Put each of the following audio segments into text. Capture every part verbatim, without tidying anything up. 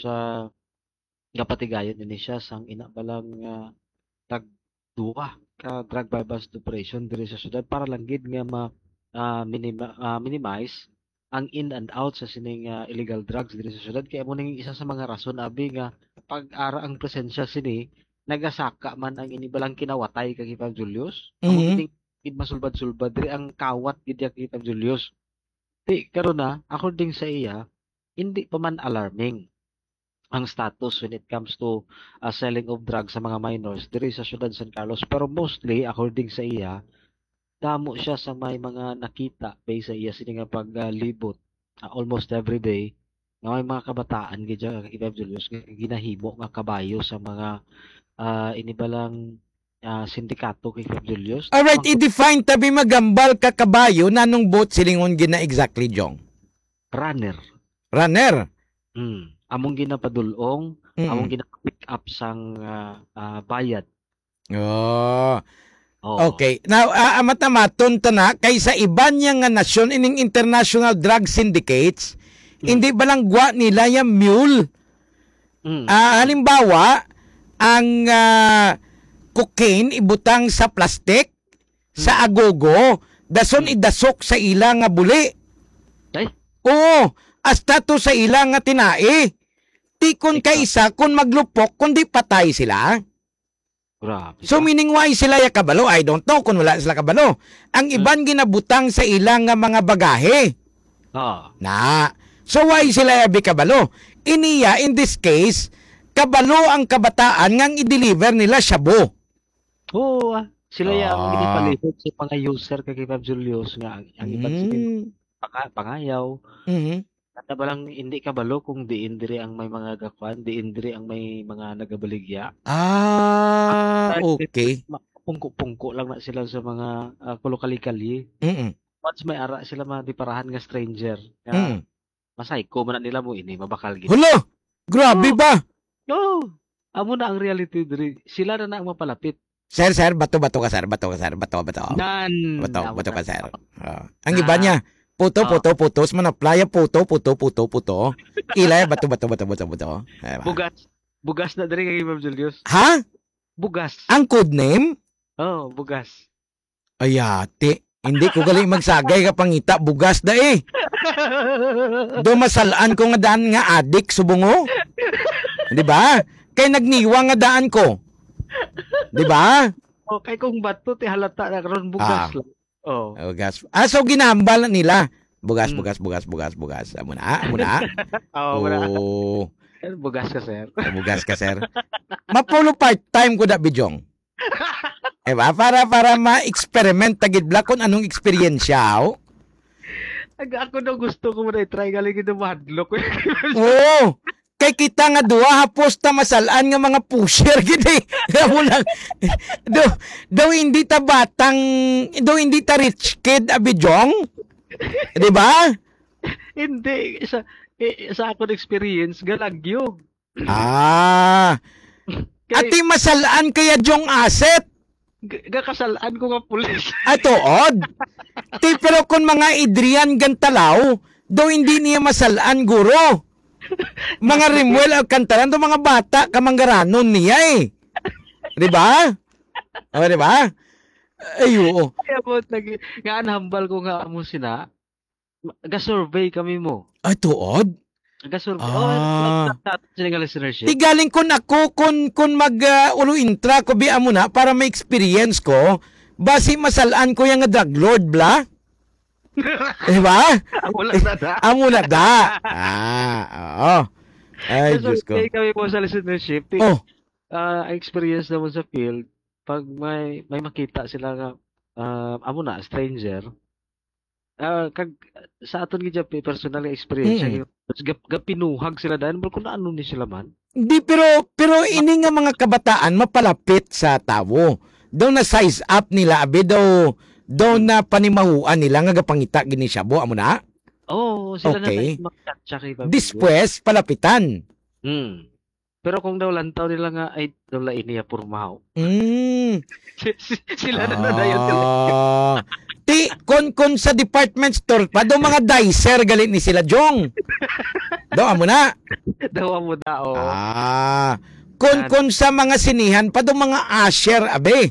ah, gapatigayon ini siya sang ina bala nga tag duha ka drug buy-bust operation diri sa syudad para lang gid nga ma-, ah, minima-, ah, minimize ang in and out sa sining, ah, illegal drugs diri sa syudad. Kay amo ning isa sa mga rason, abi, nga pag ara ang presensya sini, nagasaka man ang ini balang kinawatay kag Hipag Julius. Amo Mhm. gid gid masulbad-sulbad diri ang kawat gid ya, Hipag Julius. Di, karon na, according sa iya, hindi pa man alarming ang status when it comes to, ah, selling of drugs sa mga minors diri sa siyudad San Carlos. Pero mostly, according sa iya, damo siya sa may mga nakita based sa iya sini nga paglibot, ah, almost every day nga may mga kabataan gid siya, Kagawad Julius, nga ginahimo nga kabayo sa mga, ah, ini balang, ah, sindikato, Kagawad Julius. Alright, Ang i-define tabi magambal ka kabayo, nanong boat silingon gina exactly, Jong? Runner. Runner? Hmm. Among ginapadulong, Mm. among gina-pick up sang, ah, ah, bayad. Oh. Oo. Okay. Now, ah, ah, matamaton ta na, kay sa iban niya nga nasyon, ining international drug syndicates, Mm. hindi ba lang gwa nila yung mule? Mm. Ah, halimbawa, ang, ah, cocaine ibutang sa plastic, sa Mm. agogo, dason Mm. idasok sa ila nga buli. Ay. Oo, hasta to sa ila nga tinai. Tikon Ikaw. kaisa kung maglupok, kundi patay sila. Grabe So, ka. meaning, why sila ya kabalo? I don't know kung wala sila kabalo. Ang Hmm. iban ginabutang sa ila nga mga bagahe. Ah. Na. So, why sila ya bi kabalo? Iniya, in this case, kabalo ang kabataan nga ang i-deliver nila shabu. Oo, ah. Sila ya ang Ah. ginipalihog sa mga user kay Kevin Julius nga ang, ang iban sige Mm. panga-, pangayaw. Mhm. Nata ba lang hindi kabalo kung diin diri ang may mga gakuan, diin diri ang may mga nagabaligya. Ah, Ang okay. ma-, pungko-pungko lang na sila sa mga, ah, kulokali-kali. Mm-mm. Once may ara sila madiparahan nga stranger, nga Mm. masayko man na nila mo ini, mabakal gid. Hala! Grabe Oh. ba? No. Amo na ang reality diri. Sila na na ang mapalapit. Sir, sir, bato, bato ka, sir. Bato ka, sir. Bato, bato. Nan, Bato, amo bato na. ka, sir. Ah. Ang iba Ah. niya, puto, Ah. puto, putos, manaplaya, puto, puto, puto, puto. Ilay, bato, bato, bato, bato, bato. Diba? Bugas. Bugas na diri kay Ma'am Julius. Ha? Bugas. Ang code name? Oh, bugas. Ay, ate. Hindi ko gali magsagay ka pangita, bugas da eh. Do masalaan ko nga daan nga adik, subungo. Di ba? Kay nagniwa nga daan ko. Di ba? Oh, kay kung bato, ti halata na karon bugas Ah. lang. Oh. Bugas. Ah, so ginahambal na nila. Bugas, Mm. bugas, bugas, bugas, bugas. Amo na, amo na. Oh, wala. Oh. Bugas ka, sir. Bugas ka, sir. Mapulo part-time ko da, Bijong. Diba? Para, para ma-experiment ta gid bala kung anong eksperyensya, oh. Ag-, ako daw gusto ko man i-try, galing gid mahadlok. Oo. Kay kita nga duha, hapos ta masalaan nga mga pusher gid eh. Amo lang. Do, do hindi ta batang, do hindi ta rich kid, Abi Jong. Di ba? Hindi. Sa, eh, sa akong experience, galagyo. Ah. Kay Ati masalaan kaya Jong Asset? G-, gakasalaan ko nga pulis. Ah, tuod? Ti, pero kung mga Adrian Gantalaw, daw hindi niya masalaan, guro. Mga Rimuel Alcantara, daw mga bata, kamanggaranon niya eh. Di ba? O, di ba? Ay, oo. Kaya po, nag-, nga ang hambal ko nga amo sina, ma-, ga-survey kami mo. Ay, tuod? Ga-survey. Oh, Ah. sa, sa, sa nga listenership. Ti galing kun ako, kun, kun mag, ah, ulo intra ko, bi amo na, para may experience ko, basi masalaan ko yung nga drug lord, bla? Di ba? Amo na da. Amo na da. Ah, oo. Ay, Diyos ko. Ga-survey kami mo sa listenership. Ti, Oh. ah, ang experience naman sa field, pag may, may makita sila nga, ah, amo na, stranger, ah, kag sa aton gid siya pe-, personal nga experience, Mm. siya, mas gap-, gapinuhag sila dahil, "Bro, kung ano ni sila man?" Di, pero, pero ini nga mga kabataan mapalapit sa tawo. Daw na size up nila, abi, daw, daw na panimahuan nila nga gapangita gini siya, bo, amo na? Oo, sila na Okay. na makita siya kay Pablo. Despues, palapitan. Hmm. Pero kung daw lantaw nila nga, ay, daw lain niya purmaw. Mm. Si- si- Sila na na dayon. Ah. Ti, kon, kon sa department store pa, do mga dicer gali ni sila, Jong. Do, amo na. Daw mo na, oh. Ah. Kon, Yan. Kon sa mga sinihan pa, do mga usher, abi.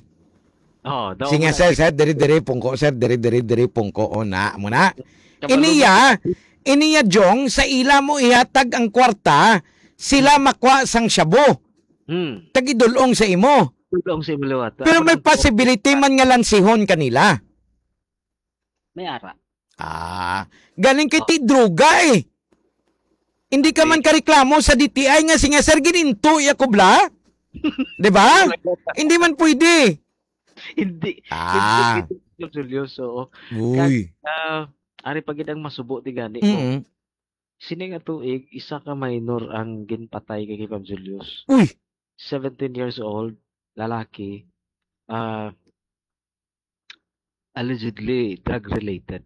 Oh, daw Sige, mo na. Sir, sir, diri, diri, pungko, sir, diri, diri, diri, pungko, oh, na, amo na. Kabalo Iniya, mo. Iniya, Jong, sa ila mo ihatag ang kwarta, sila makwa sang shabu. Hmm. Tagidulong sa imo. Tulong sa imo liwat. Pero may Ako lang po. Possibility man nga lansihon kanila. May ara. Ah, galing kay Oh. Ti droga eh. Hindi ka man Hindi. Kareklamo sa D T I nga, "Sige, sir, gininto iya kubla." Di ba? Hindi man pwede. Hindi. Ah. Hindi pwede, Julio. So, Uy. Kag, ah, ari pa gid ang masubo ti gani ko. Mm-mm. Sini nga tuig, isa ka minor ang ginpatay kay Kay Fab Julius. Uy! Seventeen years old, lalaki, ah, allegedly drug-related.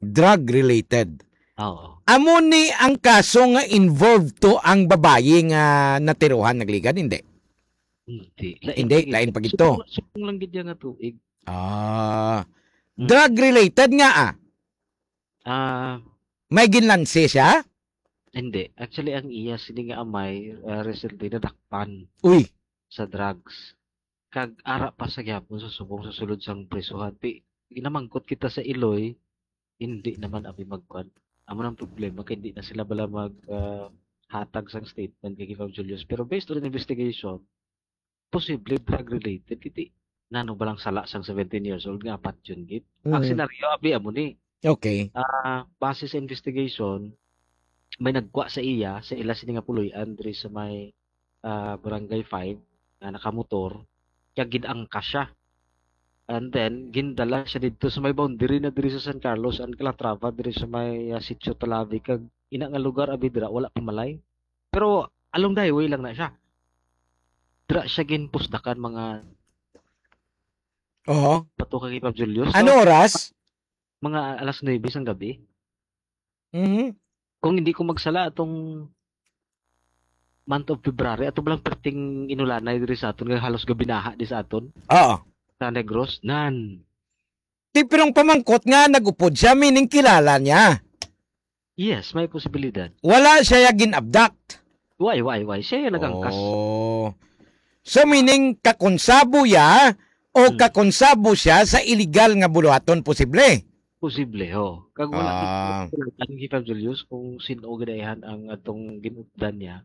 Drug-related? Oo. Amo ni ang kaso nga involved to ang babayi nga natirohan nagligad? Hindi. Hindi. Lain Hindi, pa gid. Lain pa gid to. Subong, subong lang gid niya nga tuig. Ah. Hmm. Drug-related nga, ah? Ah. May ginlansi siya? Hindi. Actually, ang iya sini nga amay, ah, recently nadakpan Uy. Sa drugs. Kag ara pa sa gyapon sa subong sa sulod sang prisuhan. Ti, ginamangkot kita sa Iloy, hindi naman abi magkuan. Amo nang problema kay hindi na sila bala mag, ah, hatag sang statement kay Ginoong Julius. Pero based on investigation, posible drug related. Kiti, nano ba lang sala sang seventeen years old nga apat yun gid? Ang Mm. Senaryo, abi, amo ni. Okay. Ah, base sa investigation, may nagkwa sa iya, sa ila sini nga puloy-an diri sa may, ah, Barangay five, nga nakamotor, kag gid-angkas siya. And then, gindala siya didto sa may boundary na diri sa San Carlos and Calatrava, diri sa may, ah, Sitio Talavi, kag ina nga lugar, abi, dira, wala pa malay. Pero along the highway lang na siya. Dira siya ginpusdakan mga Oho. Pato kay Pab Julius. Ano So, oras? Mga alas nuebe sang gabi. Mhm. Kung hindi ko magsala, atong month of February, ato ba lang perting inulanay diri sa aton nga halos gabinaha di sa aton? Oo. Sa Negros? Nan. Ti, pero ang pamangkot nga nag-upod siya, meaning kilala niya. Yes, may posibilidad. Wala siya ya gin-abduct. Why, why, why? Siya yung nag-angkas. Oh. So, meaning, kakonsabo ya o Hmm. kakonsabo siya sa illegal nga buluhaton, posible? Posible, ho. Kag wala Ah. Ang Pab Julius kung sino ginayahan ang atong ginupdan niya.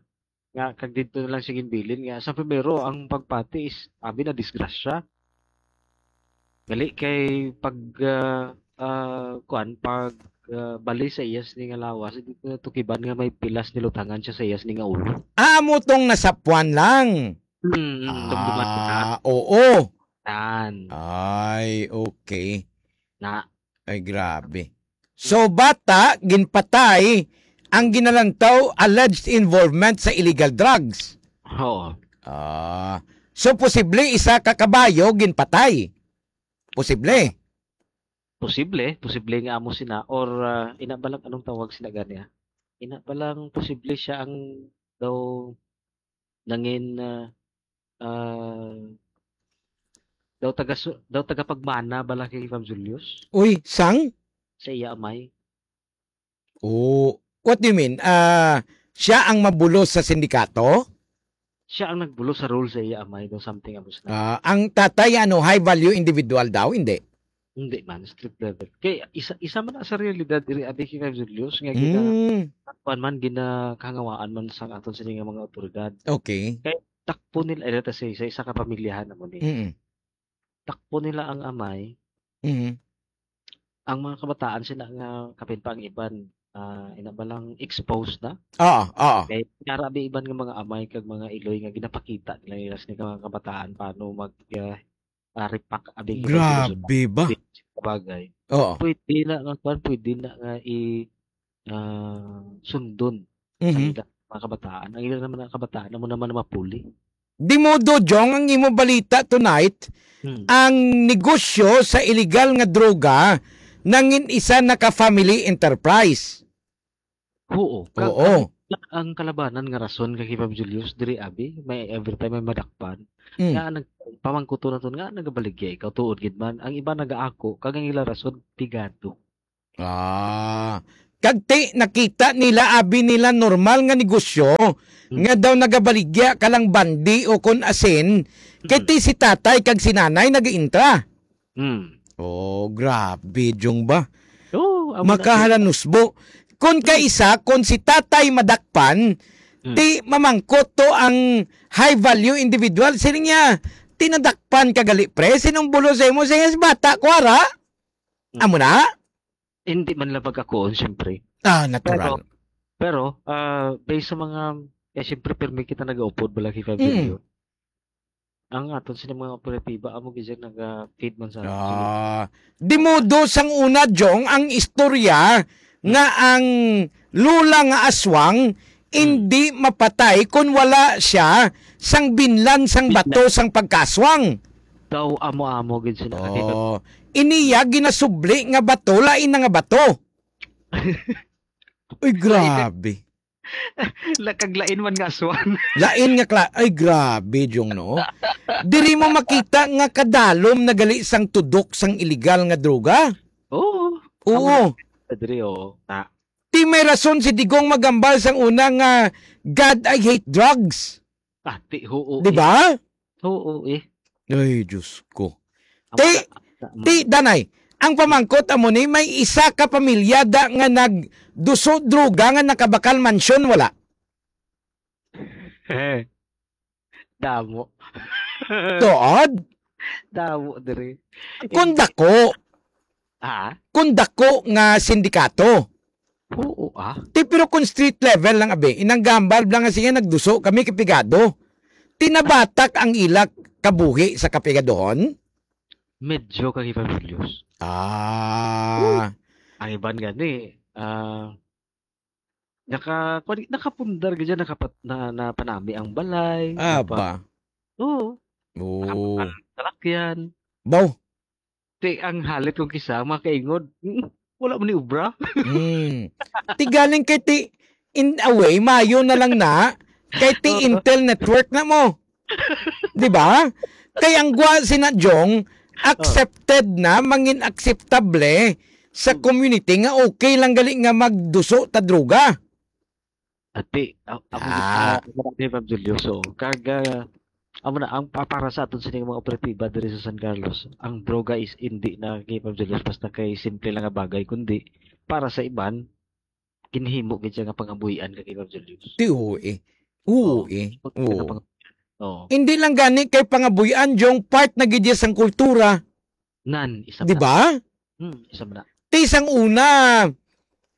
Nga, kag dito na lang siya ginbilin nga, sa primero, ang pagpati is, abi na, disgrasya. Gali kay pag, ah, ah, kuan, pag, ah, bali sa iyas ni nga lawas, hindi ko natukiban nga may pilas nilutangan siya sa iyas ni nga ulo. Ah, amo tong nasapuan lang. Hmm, hmm, dumduman ko na. Ah, oo. Tan. Ay, okay. Na. Ay, grabe. So, bata, ginpatay ang ginalantaw alleged involvement sa illegal drugs. Oo. Ah. So, posible isa ka kabayo ginpatay. Posible. Posible, posible nga amo sina or, ah, ina ba lang anong tawag sina gani, ah? Ina ba lang posible siya ang daw nangin, ah, ah, daw taga su-, daw tagapagmana bala kay Pab Julius Uy, sang? Sa iya amay. Oh, what do you mean? Ah, siya ang mabulos sa sindikato? Siya ang nagbulos sa rule sa iya amay, daw something amo sina. Ah, ang tatay, ano, high value individual daw? Hindi. Hindi man, street level. Kay isa, isa man na sa realidad diri, abi, kay Pab Julius, nga gina-, Mm. kuwan man, ginakahangawaan man sa aton sini nga mga otoridad. Okay. Kay takpo nila, eh, let us say, sa isa ka pamilyahan na mo ni. Mm. Takpo nila ang amay. Mm. Ang mga kabataan sila nga kapin pa ang iban, ah, ina ba lang exposed na? Oo, oo. Kay nara bi iban nga mga amay kag mga iloy nga ginapakita nila nila sa mga kabataan paano mag, ah, ah, repack, abi, Grabe ba? Bagay. Oo. Pwede na nga, kwan, pwede na nga i-, ah, sundon Mhm. Ang ila, mga kabataan. Ang ila naman, ang kabataan, amo naman ang mapuli. Di modo, Jong, ang imo balita tonight, Hmm. ang negosyo sa illegal nga droga nangin isa na ka family enterprise. Oo. Kag Oo. ang Ang kalabanan nga rason kay Ma'am Julius, diri, abi, may every time may madakpan. Mm. Nga nag-, pamangkuton naton nga nagabaligya ikaw, tuod gid man. Ang iba nagaako, kag ang ila rason, pigado. Ah. Kag ti, nakita nila, abi nila, normal nga negosyo, Mm. nga daw nagabaligya ka lang bandi o kon asin, kay Mm. ti si tatay kag si nanay nag-intra. Mm. Oh, grabe, Jong ba? Oo, amo na. Makahalanusbo. Kon kaisa, kon si tatay madakpan, Mm. ti mamangkot to ang high value individual. Siling niya, "Tinadakpan ka gali, pre? Sinong bulo sa imo?" Siya, "Bata ko, ara." Mm. Amo na? Hindi man lang pagkakuon, siyempre. Ah, natural. Pero, pero, ah, based sa mga, eh, siyempre, pirmi kita nag-upod, wala kay Mm. Fabio. Ang aton sini mga operatiba, amo gid siya naga-feed man sa aton. Ah, di modo sang una, Jong, ang istorya nga ang lula nga aswang Mm. hindi mapatay kon wala siya sang binlan sang bato Binlan. sang pagkaswang. Daw amo-amo gid sila, kay Oh, iniya ginasubli nga bato, lain na nga bato. Uy, Lain na grabe. La-, kag lain man nga aswang. Lain nga kla-, ay, grabe, Jong, no? Diri mo makita nga kadalom na gali sang tudok sang iligal nga droga. Oo. Oo. Amo na, diri, oo. Ta- Ti may rason si Digong maghambal sang una nga, "God, I hate drugs." Ah, ti, oo, Di eh. ba? Oo, eh. Ay, Diyos ko. Ang Ti, mga, ti, Danay, ang pamangkot amo ni, may isa ka pamilya da nga nagduso droga nga nakabakal mansyon, wala? Damo. Tuod? Damo diri. Kung Hindi. dako, Ha? kung dako nga sindikato. Oo, ah. Ti, pero kung street level lang, abi, inang gambal lang nga siya nagduso, kami kapigado. Tinabatak ang ila kabuhi sa kapigadohon? Medyo kag Evangelio's. Ah. Ang iban gani, ah, naka-, kuwan, nakapundar gid siya, nakapat-, na, napanami ang balay, Ah, napa-, ba? Oo. Oo. Nakapatal salakyan. Baw. Ti, ang halit kong kisa, makaingod, "Mm, wala man ni obra." Hmm. Ti galing kay ti, in a way, mayo na lang na, kay ti Oo. Intel network na mo. Di ba? Kay ang gwa sina Jong, Oh. accepted na, mangin akseptable sa Hmm. community nga okay lang gali nga magduso ta droga. Ati, a-, amo, Ah. ah, amo na, Ma'am Julio. So, kag, ah, amo na, ang pa-, para sa aton sining mga operatiba diri sa San Carlos, ang droga is indi na kay Ma'am Julio basta kay simple lang nga bagay, kundi para sa iban, ginhimo gid siya nga pangabuhian ka kay Ma'am Julio. Ti, oo, eh. Oo, Oo, eh. pag-, Oo. pang-, oo. Hindi lang gani kay pangabuhian, Jong, part na gid siya sang kultura. Nan, isa Di pa. ba? Hmm, isa man na. Ti sang una,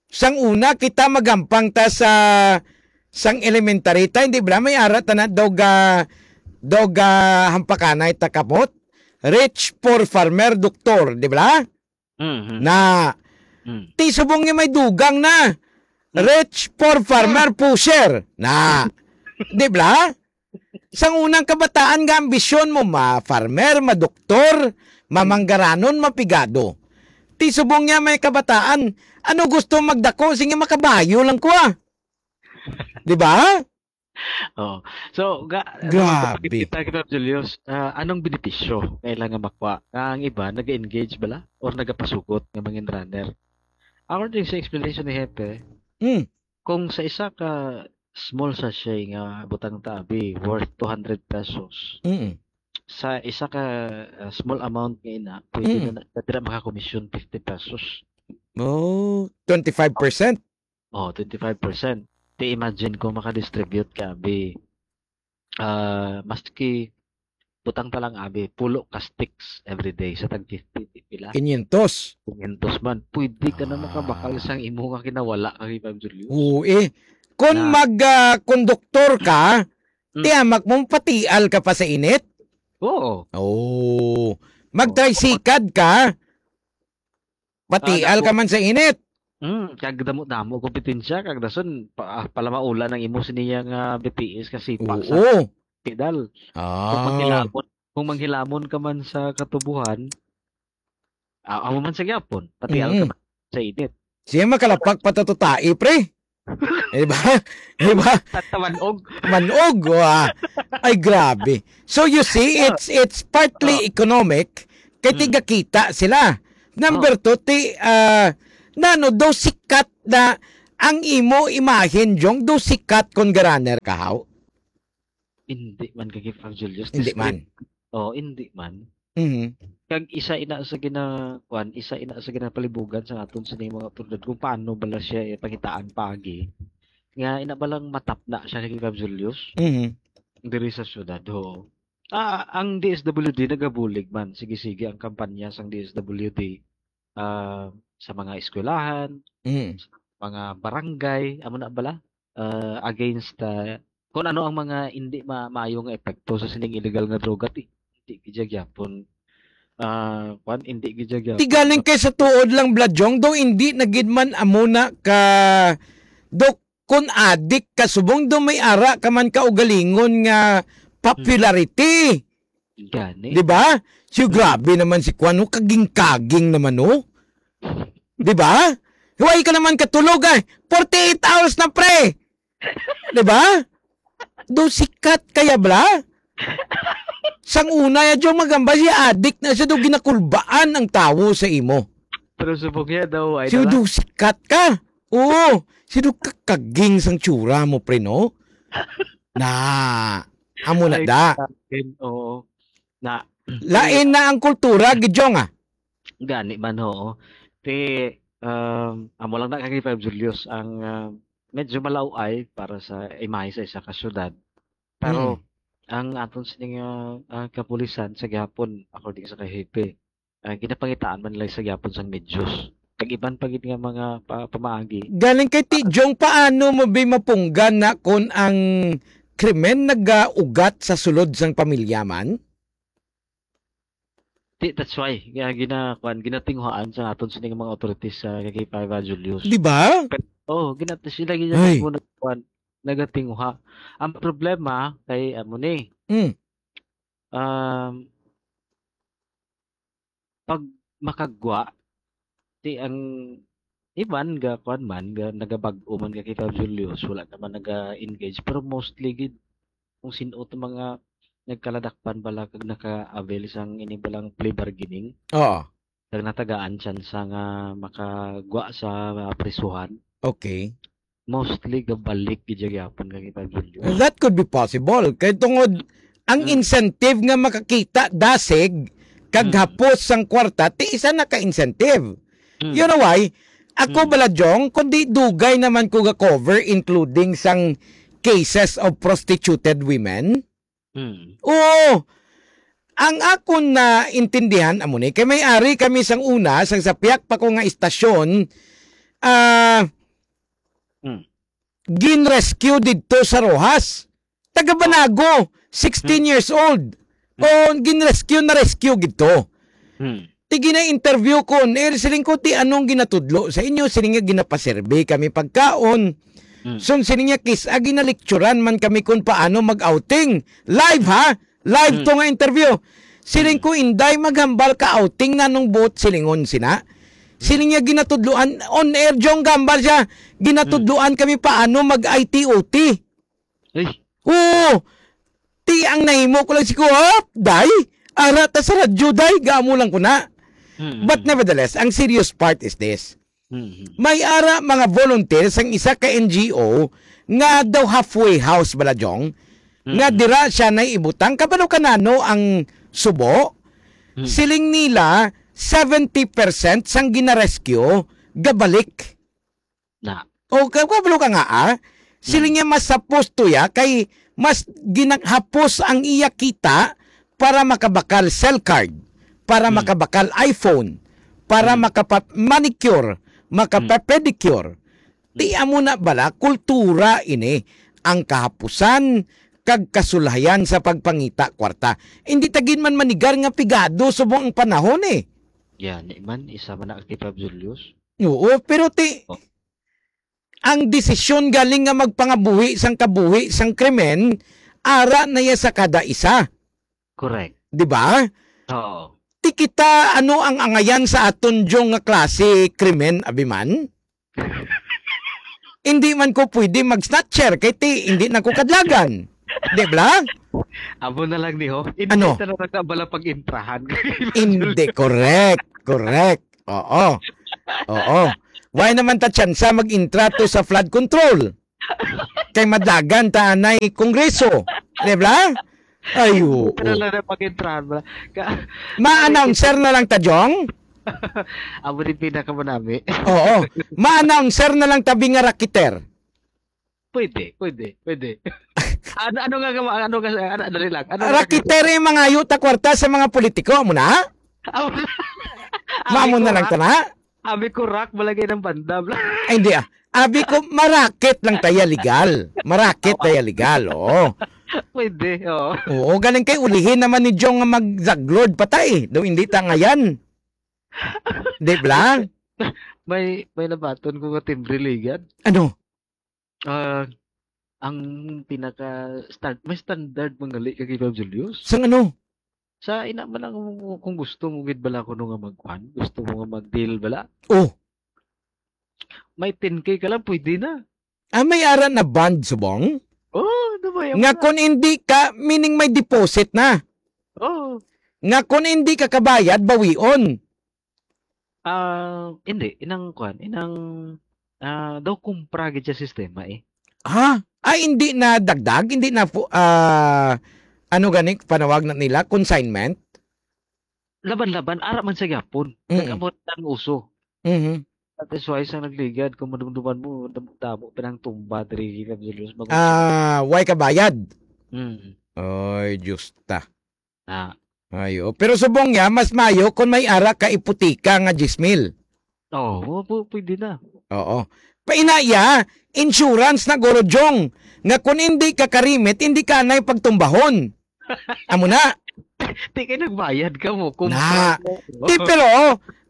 sang una kita magampang ta sa, sang elementary ta, hindi ba? May ara ta na, dog, ah, dog, ah, hampakanay ta kapot. Rich, poor, farmer, doktor, di ba? Mhm. Na, Hmm. ti subong nga may dugang na. Hmm. Rich, poor, farmer, pusher. Na. Di ba? Sang unang kabataan nga ambisyon mo, ma-farmer, ma-doktor, mamanggaranon, mapigado. Ti subong niya may kabataan, ano gusto magdako? Sige, makabayo lang ko, ah. Di ba? Oo. So, ga-, Grabe. Kita, kita, Julius, ah, anong benepisyo kailangan makuha? Ang iba, nag-engage bala? Or nagapasugot nga mangin runner? According sa explanation ni Hepe, Mm. kung sa isa ka small sachet nga butang tabi worth two hundred pesos, Mm. sa isa ka, ah, small amount nga ina, pwede Mm. na, na, na dira makakomisyon fifty pesos. Oh, twenty-five percent? Oh, twenty-five percent. Ti imagine kung makadistribute ka, bi, ah, maski butang ta lang, abi, pulo ka sticks every day sa tag fifty, di pila? Quinientos. Quinientos man. Pwede ka na makabakal Ah. sang imo nga kinawala kay Ma'am Julius. Oo, eh. Kung Na. mag, ah, konduktor ka, Mm. tiyamak mo, patial ka pa sa init? Oo. Oo. Mag-tricycad ka, patial Ah, ka damo. man sa init. Mm, kag damo-damo kompetensya, kag dason, pa-, ah, palamaulan ang imo siniya nga B T S kasi pa sa Oo. pedal. Kung Ah. manghilamon, kung manghilamon ka man sa katubuhan, ah, amo man sa gyapon, patial ka Mm. man sa init. Siya makalapak pa ta tutai, pre. Di ba? Di ba? Tatawanog. Manog, wa. Ay, grabe. So, you see, it's it's partly Oh. economic, kay Mm. tigakita sila. Number Oh. two, ti, ah, nano, daw sikat na ang imo imahen, Jong, daw sikat kon ga-runner ka, haw? Hindi man, kay Pag Julius, Hindi discreet. man. Oh, hindi man. Mhm. Kag isa ina sa gina-, kuwan, isa ina sa ginapalibugan sa aton sining mga awtoridad kung paano bala siya, eh, pangitaan paagi. Nga ina balang matapna siya kay Pag Julius Mhm. diri sa syudad, oo. Ah, ang D S W D nagabulig man. Sige-sige ang kampanya sang D S W D, ah, sa mga eskwelahan, Mm. sa mga barangay, amo na bala, ah, against, ah, kung ano ang mga hindi ma-, maayo nga epekto sa sining illegal nga droga, ti-, hindi gid siya gyapon, ah, kwan, hindi gid siya gyapon. Ti galing kay sa tuod lang, Bla Jong, daw hindi na gid man amo na ka, daw kun adik ka, subong daw may ara ka man kaugalingon nga popularity. Gani. Di ba? So, Hmm. grabe naman si Kwan, no? Kaging-kaging naman, no? Di ba? Huwag ka naman katulog, ay. Forty-eight hours na, pre. Di ba? Do sikat kaya, bla? Sang una, ya, Jong, magamba siya, adik na siya, do ginakulbaan ang tawo sa imo. Pero subong niya daw, ay Si dala. do sikat ka. Oo. Si do kakaging sang tsura mo, pre, no? Na, amo na Ay, da. sa akin, oo. Na, Lain na ang kultura, gid, Jong, ah. Gani man, oo. Ti, um, amo lang na kay Five Julius ang, ah, medyo malaw-ay para sa imahe sa isa ka syudad. Pero Mm. ang aton sining, ah, ah, kapulisan sa gihapon, according sa kahepe, ah, ginapangitaan man nila sa gihapon sang medyos. Kag iban pa gid nga mga pa-, pamaagi. Galing kay Ti Ah. Jong, paano mo bi mapunggan na kon ang krimen nagaugat sa sulod sang pamilya man? Ti, that's why, nga gina-, kwan, ginatinguhaan sa aton sining mga authorities sa kay Papa Julius. Di ba? Pero, oh, ginat-, sila gid Ay. ang muna, kwan, nagatinguha. Ang problema kay amo ni, Mm. um, pag makagwa, ti ang iban ga kwan man, ga nagabag-o man ga kay Papa Julius, wala naman naga-engage, pero mostly gid kung sin-o to mga nagkaladakpan bala kag naka-avail sang ini balang plea bargaining. Oo. Kag natagaan tsansa nga makagwa sa, ah, prisuhan. Okay. Mostly gabalik gid siya gyapon kay Papa Julius. Well, that could be possible. Kay tungod ang Mm. incentive nga makakita dasig kag Mm. hapos sang kwarta, ti isa na ka incentive. Mm. You know why? Ako Mm. bala, Jong, kundi dugay naman ko ga-cover, including sang cases of prostituted women. Mm. Oo. Ang akon naintindihan amo ni, kay may ari kami sang una, sang sa piyak pa ko nga istasyon, ah, Mm. gin-rescue didto sa Roxas. Taga Banago, sixteen Hmm. years old. Hmm. O, gin-rescue, na-rescue gid to. Hmm. Ti gina-interview ko on air, siling ko, "Ti anong ginatudlo sa inyo?" Siling nga, "Ginapaserve kami pagkaon." Hmm. So, siling niya, "Kis-a, ginalecturan man kami kung paano mag-outing." Live, ha? Live Hmm. to nga interview. Siling Hmm. ko, "Inday, maghambal ka outing na nung buot silingon sina." Siling niya, ginatudluan, on air, Jong, gambal siya, ginatudluan kami paano mag-I T O T. Ay. Oo. Ti ang nahimo ko lang si Kuhap, day. Ara ta sa radyo, day. Gamo lang ko na. Mm, But mm. nevertheless, ang serious part is this. Mm, mm. May ara mga volunteers ang isa ka N G O nga daw halfway house bala, Jong, nga Mm. dira siya na ibutang. Kabalo ka nano ang subo? Mm. Siling nila, seventy percent sang ginarescue, gabalik. Na. O, ka-, kabalo ka nga, ah? Siling Mm. niya mas hapos to ya, kay mas ginahapos ang iya kita para makabakal cell card, para Mm. makabakal iPhone, para Mm. makapa-, manicure, Mm. makapa-pedicure. Ti Mm. amo na bala, kultura ini, ang kahapusan kag kasulayan sa pagpangita kwarta. Hindi ta gid man manigar nga pigado subong ang panahon, eh. Yan, eh, man, isa man na kay Fab Julius. Oo, pero ti, Oh. ang desisyon galing nga magpangabuhi sang kabuhi sang krimen, ara na ya sa kada isa. Correct. Di ba? Oo. Ti kita, ano ang angayan sa aton, Jong, nga klase krimen, abi man? Hindi man ko pwede mag-snatcher kay ti, hindi na ko kadlagan. Di ba? Amo na lang ni, ho. Hindi Ano? ta na nakabala pag-intrahan. Hindi, correct. Correct. Oo. Oo. Why naman ta tsansa mag-intra to sa flood control? Kay madlagan ta anay kongreso. Di ba? Ay, oo. Pero lang na pag-intrahan mo. Ka- Ma-announcer na lang ta, Jong? Amo din pinakamanami. Oo. Ma-announcer na lang tabi nga rakiter. Pwede, pwede, pwede. Ano, ano nga, ano, ano nga, ano, dali lang. Ano nga Rakiter yung mga yuta kwarta sa mga politiko, amo na? Amo na. Mamo Abi na ko, lang ah, ta na? Abi ko, rak, malagay ng bandam. Ay, hindi ah. Abi ko, marakit lang taya legal. Marakit Oo. taya legal, oo. Pwede, oo. Oo, galing kay ulihin naman ni Jong nga mag-zaglord patay. Daw hindi ta ngayan. Di ba? May, may nabaton ko nga timbre ligad. Ano? Ah, ang pinaka stan-, may standard mangali ka kay Bob Julius. Sang ano? Sa ina man lang kung, kung gusto mo gid bala kuno nga magkuan, gusto mo nga mag-deal bala. Oh. May ten K ka lang, pwede na. Ah, may ara na bond, subong? Oh, ano ba yan? Nga kung hindi ka, meaning may deposit na. Oh. Nga kung hindi ka kabayad, bawion. Ah, hindi. Inang kuan, inang, ah, daw kumpra gid sa sistema eh. Ha? Ay, hindi na dagdag? Hindi na fu-, ah, ano gani, panawag na nila? Consignment? Laban-laban, ara man sa gyapon. Mm. Nag-abot ang uso. Mhm. That is why sa nagligad, kung madumduman mo, damo-damo pinang tumba diri, Kap Julius. Mag- Ah, way kabayad? Mm. Oy, Diyos ta. Ah. Ayo. Pero subong niya, mas mayo kung may ara ka iputika nga diyes mil. Oo, pu-, pwede na. Oo. Painaya, insurance na guro, Jong, nga kung hindi ka karimit, hindi ka anay pagtumbahon. Amo na. Di kay nagbayad ka mo, Na. kumpra mo. Di, pero,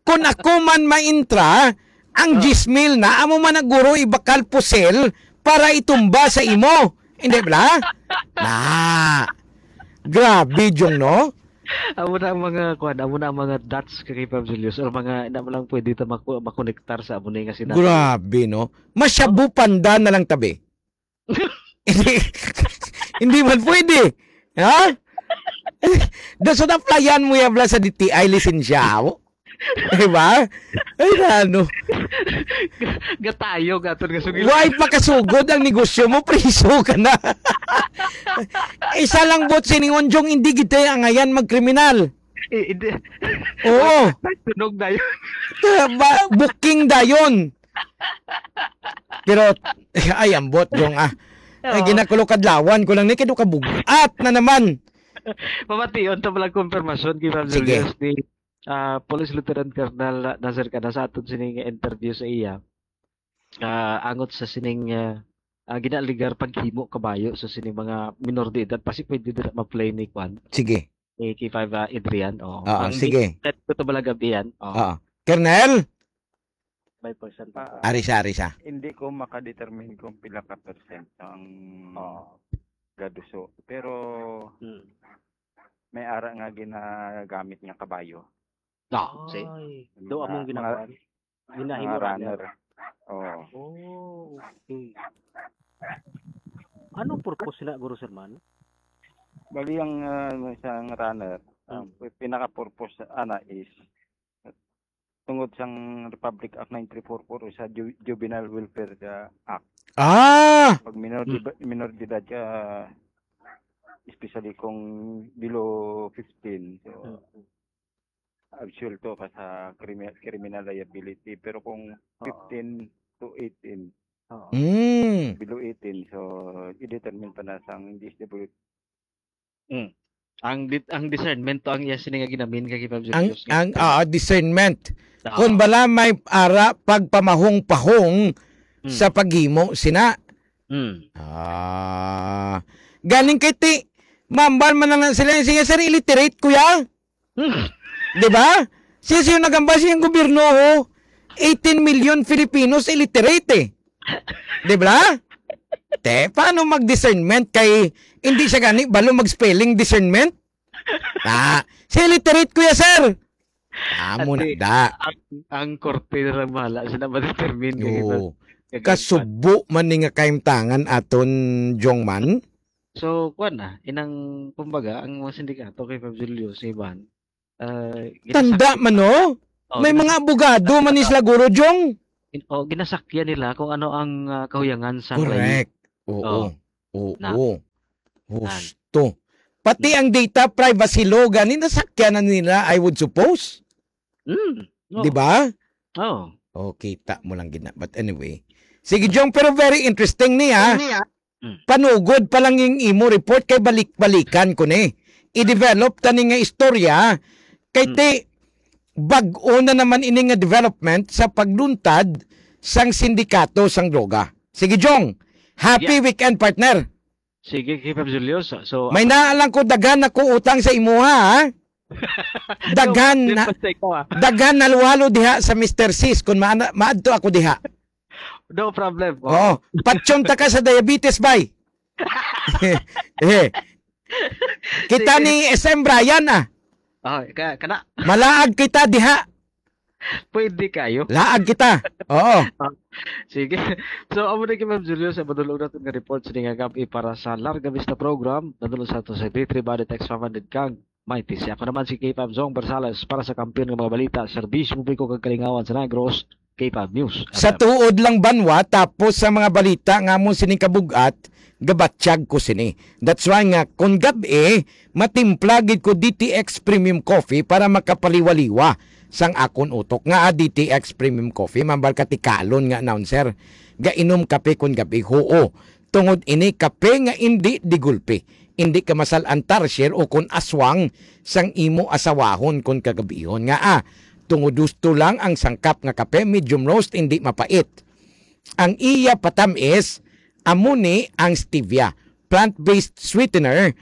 kung ako man maintra, ang Ah. diyes mil na, amo man na guro ibakal pusil para itumba sa imo. Hindi bala? Na. Grabe, Jong, no? Amo na ang mga, kuwan, amo na ang mga dots kay Pab Julius, or mga, na mo lang pwede ta maku-, makonektar sa amo na yung nga sinabi. Grabe, no? Masyabu panda na lang tabi. Hindi, hindi man pwede. Ha? Da, so, na-applyan mo yan, bala, sa D T I lisensya, mo? Diba? Ay, na, ano? Gatayo, gaton nga sugil. Why pa kasugod ang negosyo mo? Priso ka na. Isa lang bot siningon, Jong, hindi kita ang ayan magkriminal. Eh, hindi. Oo. Tunog na yun. Ba, booking dayon. Pero, ay, ambot, Jong, ah. Ay, Oo. ginakulo kadlawan ko lang ni, kay do ka bugat na naman. Pamation ta pala, kumpirmasyon kay Ma'am Sige. Julius ni, ah, Police Lieutenant Colonel Nasir Cana sa aton sining interview sa iya. Ah, angot sa sining, ah, ah, ginaaligar paghimo kabayo sa sining mga minor de edad, pasi pwede dira ma-play ni Kwan. Sige. Ni K five, ah, Adrian, oo. Oo, Ang sige. Di-, ko to bala gabi yan, oo. Oo. Colonel? May percent pa. Ah, Ari siya, ari siya. Hindi ko makadetermine kung pila ka percent ang Oo. gaduso. Pero Hmm. may ara nga ginagamit nga kabayo. Ah, see? Ay, Mga, do among mga, ginakuan. Ginahimo mga runner. runner. Oo. Oh, okay. Anong purpose na, Guru Sermon? Bali, ang, ah, isang runner, ang Hmm. pinaka-purpose ana is tungod sang Republic Act nine three four four o sa Ju-, Juvenile Welfare, ah, Act. Ah! Pag minor Hmm. di ba, minor de edad ka, especially kung below fifteen, so, Hmm. absuelto ka sa krimi-, criminal liability. Pero kung Oo. fifteen to eighteen, Oo. Mm. below eighteen, so, i-determine pa na sang D S W. Mm. Ang dit-, ang discernment to ang iya sini nga ginamin kay Pablo Ang, Diyos. ang, ah, discernment. Oo. Kung bala may ara pagpamahong-pahong Mm. sa paghimo sina. Mm. Ah. Galing kay ti, mambal man na lang sila, "Sige, sir, illiterate, kuya." Hmm. Di ba? Siya, siya nagambal siyang gobyerno, oh. Eighteen million Filipinos illiterate, eh. Di ba? Te, paano mag-discernment kay hindi siya gani balo mag-spelling discernment? Ah, si illiterate, kuya, sir. Amo na Ate, da. ang, ang korte na lang bahala. Sila ma-determine kay Oo. Kasubo man ni nga kahimtangan aton, Jong man. So, kuwan na, inang, kumbaga, ang mga sindikato kay Fab Julio sa iban, ah, Tanda ginasak-, man, no? Oh, May mga ginasak-, abogado man ni ginasak-, sila, Guro Jong. In-, oh, ginasakyan nila kung ano ang, ah, kahuyangan sa layi. Correct. Oo. Oh. Oo. Na. Husto. Pati Na. ang data privacy law, gani nasakyan na nila, I would suppose. Mm. Oh. Di ba? Oh. Oh, kita mo lang gina. But anyway. Sige, Jong, pero very interesting niya. Niya. Mm. Panugod pa lang yung imo report kay balik-balikan ko ni. I-develop ta ni nga istorya kay Mm. ti bag-o na naman ini nga development sa pagluntad sang sindikato sang droga. Sige, Jong. Happy Yeah. weekend, partner. Sige, K five Julius. So, May naa lang ko, daghan ako utang sa imuha, ha? Daghan No, na, mistake ko, ah. daghan na luwalo diha sa Mister Sis kung maana-, maadto ako diha. No problem. Oo. Oo. Patyon ta ka sa diabetes, bay. Eh. Kita Sige. ni S M Brian, ah. Oh, ka-, kana. Malaag kita diha. Pwede kayo. Laag kita. Oo. Ah, sige. So, amo na gyud, Ma'am Julio, sa madulog natin nga report sa nga gabi para sa Larga Vista Program. Nadulog sa ato sa D three Body Text five hundred kang Mighty. Si ako naman si K five Zong Barsales para sa kampiyon nga mga balita, serbisyo publiko kag kalingawan sa Negros, K five News Sa F M. tuod lang, Banwa, tapos sa mga balita nga mo sining kabugat, gabatyag ko sini. That's why nga, kung gab-i, matimpla gid ko D T X Premium Coffee para makapaliwaliwa sang akon utok. Nga, ah, D T X Premium Coffee, mambal ka tikalon nga announcer. Gainom kape kon gab-i, huo. Tungod ini kape nga indi digulpi. Indi ka masal-an tarsier o kon aswang sang imo asawahon kon kagabihon. Nga, ah, tungod husto lang ang sangkap nga kape, medium roast, indi mapait. Ang iya patamis, amo ni ang stevia, plant-based sweetener,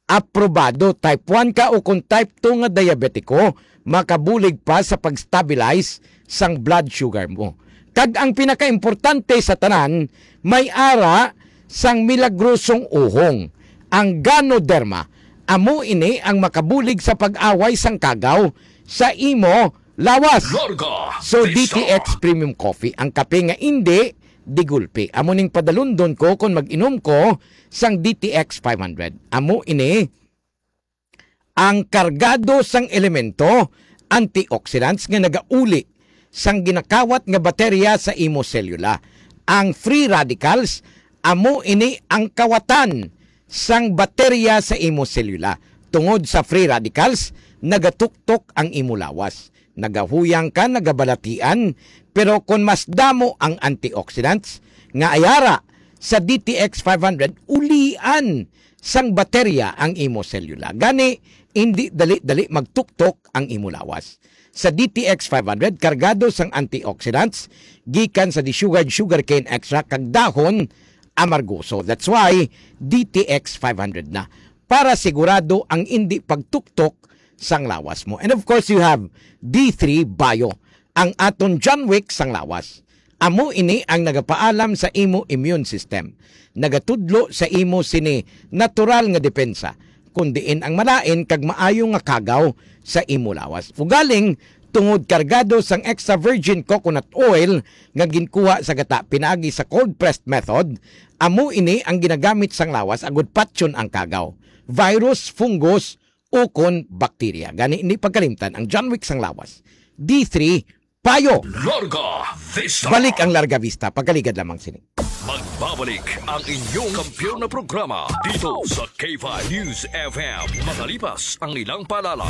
aprobado. Type one ka o kung type two nga diabetiko, makabulig pa sa pag-stabilize sang blood sugar mo. Kag ang pinakaimportante sa tanan, may ara sang milagrosong uhong, ang Ganoderma. Amo ini ang makabulig sa pag-away sang kagaw sa imo lawas. Larga So, Vista. D T X Premium Coffee, ang kape nga indi digulpi. Amo ning padalundon ko kon mag-inom ko sang D T X five hundred. Amo ini ang kargado sang elemento, antioxidants nga nagauli sang ginakawat nga baterya sa imo selula. Ang free radicals, amo ini ang kawatan sang baterya sa imo selula. Tungod sa free radicals, nagatuktok ang imo lawas. Nagahuyang ka, nagabalatian, pero kon mas damo ang antioxidants nga ayara sa D T X five hundred, ulian sang baterya ang imo selula. Gani, indi dali-dali magtuktok ang imo lawas. Sa D T X five hundred, kargado sang antioxidants gikan sa desugared sugarcane extract kag dahon amargoso. That's why D T X five hundred na, para sigurado ang indi pagtuktok sang lawas mo. And of course, you have D three Bio, ang aton John Wick sang lawas. Amo ini ang nagapaalam sa imo immune system. Nagatudlo sa imo sini natural nga depensa, kun diin ang malain kag maayo nga kagaw sa imo lawas. Ugaling, tungod kargado sang extra virgin coconut oil nga ginkuha sa gata pinaagi sa cold pressed method, amo ini ang ginagamit sang lawas agud patyon ang kagaw, virus, fungus, ukon bakterya. Gani, hindi pagkalimtan ang John Wick sang lawas. D three, Bio. Larga Vista. Balik ang Larga Vista. Pagkaligad lamang sini. Magbabalik ang inyong kampiyon na programa dito sa K five News F M. Makalipas ang ilang paalala,